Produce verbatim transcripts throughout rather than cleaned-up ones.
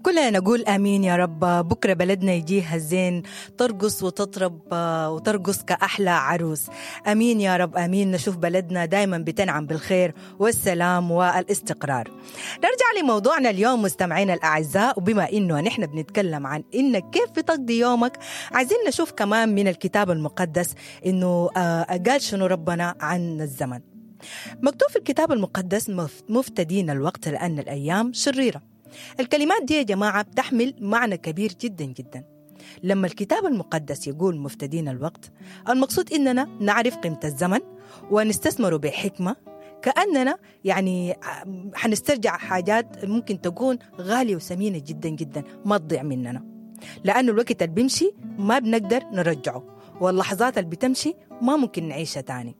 كلنا نقول امين يا رب. بكره بلدنا يجيها الزين، ترقص وتطرب وترقص كاحلى عروس. امين يا رب امين. نشوف بلدنا دائما بتنعم بالخير والسلام والاستقرار. نرجع لموضوعنا اليوم مستمعينا الاعزاء، وبما انه نحن بنتكلم عن انك كيف بتقضي يومك، عايزين نشوف كمان من الكتاب المقدس انه قال شنو ربنا عن الزمن. مكتوب في الكتاب المقدس: مفتدين الوقت لان الايام شريره. الكلمات دي يا جماعة بتحمل معنى كبير جدا جدا. لما الكتاب المقدس يقول مفتدين الوقت، المقصود إننا نعرف قيمة الزمن ونستثمره بحكمة، كأننا يعني حنسترجع حاجات ممكن تكون غالية وثمينة جدا جدا ما تضيع مننا، لأنه الوقت اللي بيمشي ما بنقدر نرجعه، واللحظات اللي بتمشي ما ممكن نعيشها تاني.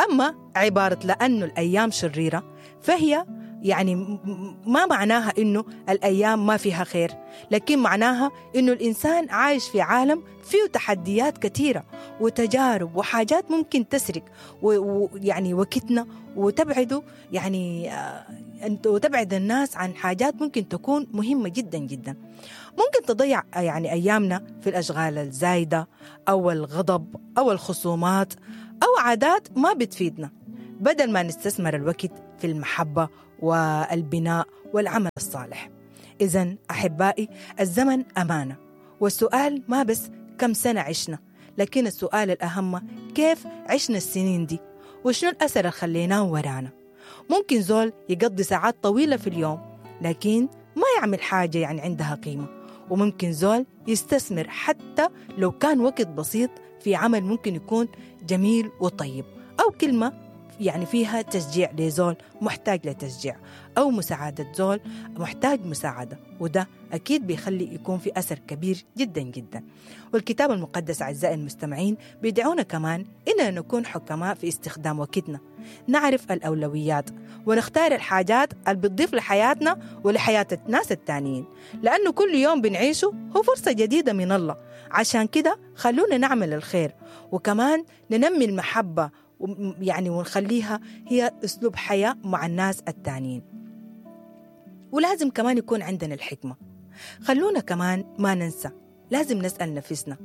أما عبارة لأنه الأيام شريرة، فهي يعني ما معناها إنه الأيام ما فيها خير، لكن معناها إنه الإنسان عايش في عالم فيه تحديات كثيرة وتجارب وحاجات ممكن تسرق ويعني وقتنا وتبعده يعني وتبعد الناس عن حاجات ممكن تكون مهمة جدا جدا. ممكن تضيع يعني أيامنا في الأشغال الزايدة أو الغضب أو الخصومات أو عادات ما بتفيدنا، بدل ما نستثمر الوقت في المحبة والبناء والعمل الصالح. إذن أحبائي، الزمن أمانة، والسؤال ما بس كم سنة عشنا، لكن السؤال الأهم كيف عشنا السنين دي وشنو الأثر اللي خليناه ورانا. ممكن زول يقضي ساعات طويلة في اليوم لكن ما يعمل حاجة يعني عندها قيمة، وممكن زول يستثمر حتى لو كان وقت بسيط في عمل ممكن يكون جميل وطيب، أو كلمة يعني فيها تشجيع لزول محتاج لتشجيع، أو مساعدة زول محتاج مساعدة، وده أكيد بيخلي يكون في أثر كبير جدا جدا. والكتاب المقدس أعزائي المستمعين بيدعونا كمان إننا نكون حكماء في استخدام وقتنا، نعرف الأولويات ونختار الحاجات اللي بتضيف لحياتنا ولحياة الناس التانيين، لأنه كل يوم بنعيشه هو فرصة جديدة من الله. عشان كده خلونا نعمل الخير، وكمان ننمي المحبة يعني ونخليها هي أسلوب حياة مع الناس التانيين. ولازم كمان يكون عندنا الحكمة. خلونا كمان ما ننسى، لازم نسأل نفسنا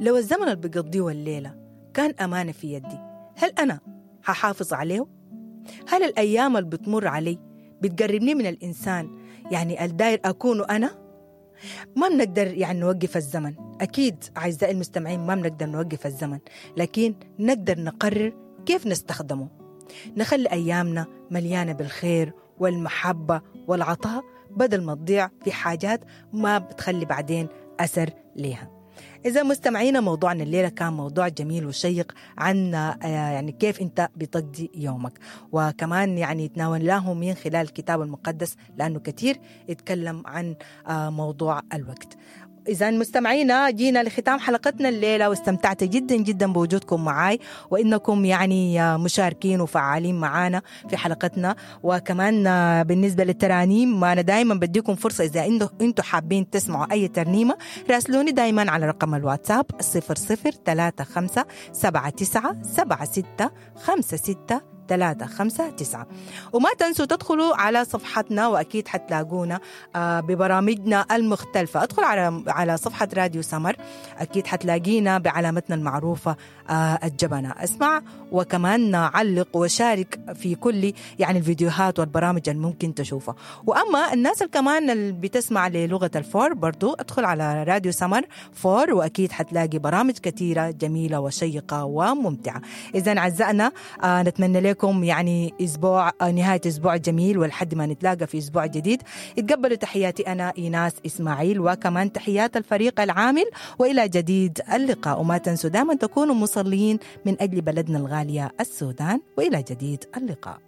لو الزمن اللي بقضيه الليلة كان أمانة في يدي، هل أنا هحافظ عليه؟ هل الأيام اللي بتمر علي بتقربني من الإنسان يعني الداير أكونه أنا؟ ما بنقدر يعني نوقف الزمن، أكيد أعزائي المستمعين ما بنقدر نوقف الزمن، لكن نقدر نقرر كيف نستخدمه. نخلي أيامنا مليانة بالخير والمحبة والعطاء، بدل ما تضيع في حاجات ما بتخلي بعدين أثر ليها. إذا مستمعينا، موضوعنا الليلة كان موضوع جميل وشيق عن يعني كيف أنت بتقضي يومك، وكمان يعني تناولناه من خلال الكتاب المقدس لأنه كثير يتكلم عن موضوع الوقت. إذا مستمعينا، جينا لختام حلقتنا الليلة، واستمتعت جدا جدا بوجودكم معاي، وإنكم يعني مشاركين وفعالين معانا في حلقتنا. وكمان بالنسبة للترانيم، ما أنا دايما بديكم فرصة إذا أنتم حابين تسمعوا أي ترنيمة راسلوني دايما على رقم الواتساب صفر صفر ثلاثة خمسة سبعة تسعة سبعة ستة خمسة ستة ثلاثة خمسة تسعة. وما تنسوا تدخلوا على صفحتنا، وأكيد حتلاقونا ببرامجنا المختلفة. ادخل على على صفحة راديو سمر، أكيد حتلاقينا بعلامتنا المعروفة الجبنة. اسمع وكمان علق وشارك في كل يعني الفيديوهات والبرامج اللي ممكن تشوفها. وأما الناس اللي كمان اللي بتسمع للغة الفور، برضو ادخل على راديو سمر فور، وأكيد حتلاقي برامج كثيرة جميلة وشيقة وممتعة. إذا أعزائنا، نتمنى لكم يعني أسبوع، نهاية أسبوع جميل، ولحد ما نتلاقى في أسبوع جديد. اتقبلوا تحياتي أنا إيناس إسماعيل، وكمان تحيات الفريق العامل، وإلى جديد اللقاء. وما تنسوا دائما تكونوا مصلين من أجل بلدنا الغالية السودان، وإلى جديد اللقاء.